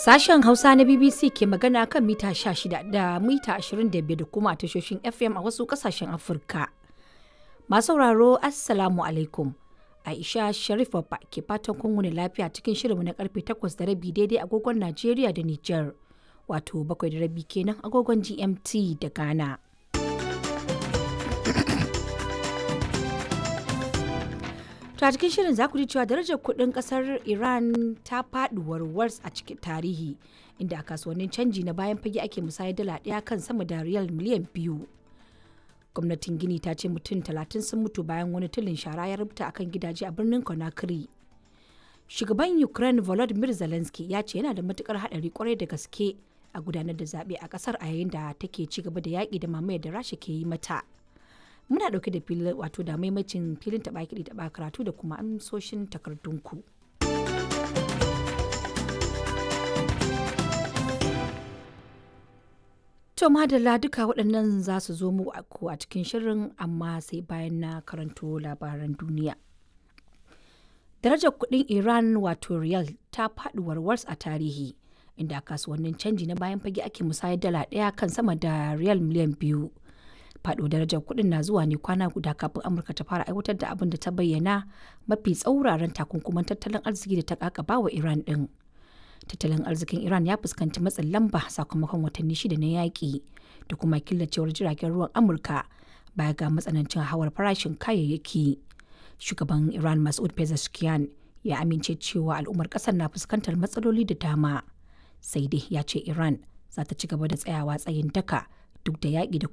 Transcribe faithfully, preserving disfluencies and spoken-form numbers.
Sashen Hausa na B B C ke magana kan mita sha shida da mita ashirin da biyar da kuma a tashoshin F M a wasu kasashen Afirka. Masu sauraro, Assalamu alaikum. Aisha Sharif Babba ke fatan kun wuni lafiya cikin shirinmu na karfe takwas da rabi daidai agogon Najeriya da Nijar. Wato bakwai da rabi kenan agogon G M T da Ghana. To, a cikin shirin za ku ji cewa darajar kuɗin ƙasar Iran ta faɗi warwars a cikin tarihi, inda a kasuwannin canji na bayan fage ake musayar dala ɗaya kan sama da riyal miliyan biyu. Gwamnatin Gini ta ce mutum talatin sun mutu bayan wani tulin shara ya rubuta akan gidaje a birnin Conakry. Shugaban Ukraine Volodymyr Zelensky ya ce yana da matukar haɗari kwarai da gaske a gudanar da zaɓe a ƙasar a yayin da take ci gaba da yaƙi da mamayar da Rasha ke yi mata. Muna ɗauke da filin, wato da maimacin filin taɓa kiɗi taɓa karatu da kuma amsoshin takardunku. To madalla, duka waɗannan za su zo mu a cikin shirin, amma sai bayan na karanto labaran duniya. Darajar kuɗin Iran, wato riyal, ta faɗi warwars a tarihi, inda a kasuwannin canji na bayan fage ake musayar dala ɗaya kan sama da riyal miliyan biyu. Faɗo darajar kuɗin na zuwa ne kwana guda kafin Amurka ta fara aiwatar da abin da ta bayyana mafi tsauraran takunkuman tattalin arziki da ta kakaba wa Iran ɗin. Tattalin arzikin Iran ya fuskanci matsin lamba sakamakon watanni shida na yaƙi da kuma killacewar jiragen ruwan Amurka, baya ga matsanancin hawar farashin kayayyaki. Shugaban Iran Masoud Pezeshkian ya amince cewa al'ummar ƙasar na fuskantar matsaloli da dama, sai dai ya ce Iran za ta ci gaba da tsayawa tsayin daka duk da yaƙi da